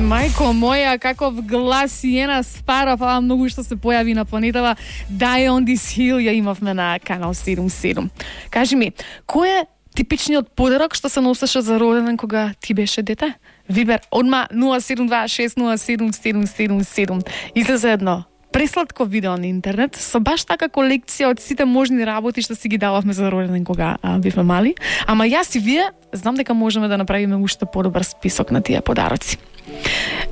Мајко моја, каков глас и една спара, фала многу што се појави на планетава. Die on this hill ја имавме на канал 77. Кажи ми, кој е типичниот подарок што се носеше за роденден кога ти беше дете? Вибер, одма 072-607-777. Излезе едно пресладко видео на интернет со баш така колекција од сите можни работи што си ги дававме за роденден кога бевме мали. Ама јас и вие знам дека можеме да направиме уште подобар список на тие подароци.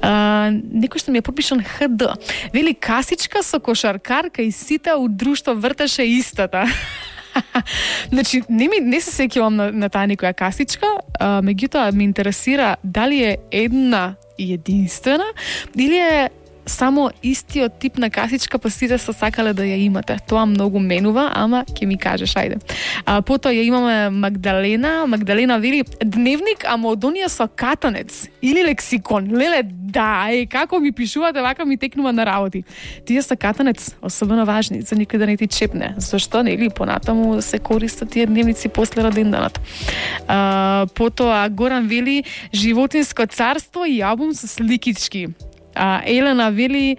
Некој што ми е подпишан ХД. Вели касичка со кошаркарка и сите од друштво вртеше истата. Значи, не се сеќавам на таа некоја касичка, меѓутоа ме интересира дали е една и единствена или е само истиот тип на касичка, па сите се сакале да ја имате. Тоа многу менува, ама ќе ми кажеш, ајде. Потоа ја имаме Магдалена. Магдалена вели дневник, ама од оние со катанец или лексикон. Леле, да, како ми пишувате, вака ми текнува на работи. Тие со катанец, особено важни, за никој да не ти чепне. Зашто, нели, понатаму се користат тие дневници после роденданот. Потоа Горан вели животинско царство и албум со сликички. Елена вели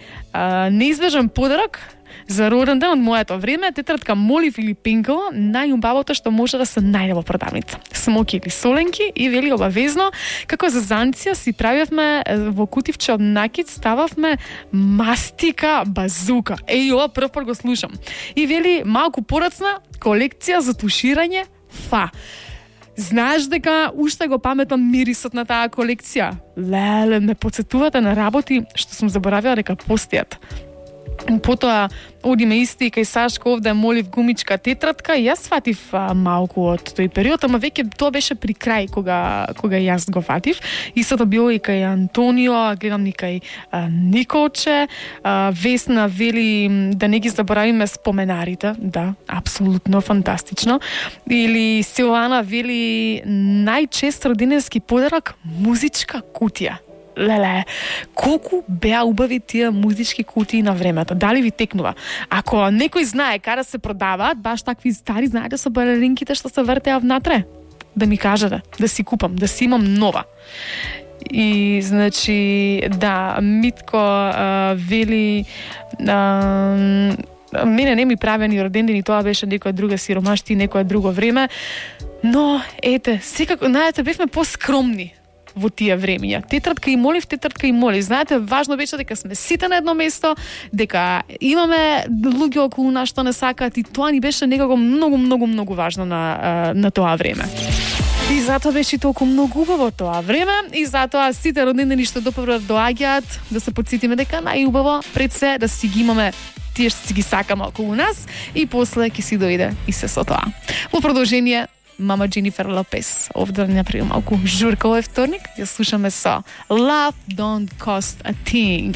неизбежен подарок за роден ден од моето време, тетрадка Молив или Пенкова, најубавото што може да се најде во продавница. Смоки или соленки и вели обавезно, како за занција си правевме во кутивче од накит, стававме мастика базука. Ова прв пат го слушам. И вели малку порацна колекција за туширање фа. Знаеш дека уште го паметам мирисот на таа колекција? Леле, ме подсетувате на работи што сум заборавила дека постојат. Потоа одиме исти кај Сашко овде Молив гумичка тетрадка и јас фатив малку од тој период, ама веќе тоа беше при крај кога јас го фатив. Истото било и кај Антонио, гледам и кај Николче. Весна вели да не ги заборавиме споменарите. Да, апсолутно фантастично. Или Силана вели најчест родененски подарок музичка кутија. Леле, колку беа убави тие музички кутии на времето. Дали ви текнува? Ако некој знае каде се продаваат, баш такви стари, знаете, со балеринките што се вртеа внатре, да ми кажете, да си купам, да си имам нова. И, значи, да, Митко вели... мене не ми правеа ни родендени, тоа беше некоја друга сиромашти и некоја друго време. Но, ете, секако, знаете, бевме поскромни во тие времења. Тетрадка и Молив. Знаете, важно беше дека сме сите на едно место, дека имаме луѓе околу нас што не сакаат и тоа ни беше некако многу важно на тоа време. И затоа беше толку многу убаво тоа време и затоа сите родендени што допрво доаѓаат да се потсетиме дека најубаво пред се да си ги имаме тие што си ги сакаме околу нас и после ќе си дојде и се со тоа. Во продолжение мама Дженифер Лопес. Овде да направи малку журка овој вторник. Ја слушаме со Love Don't Cost a Thing.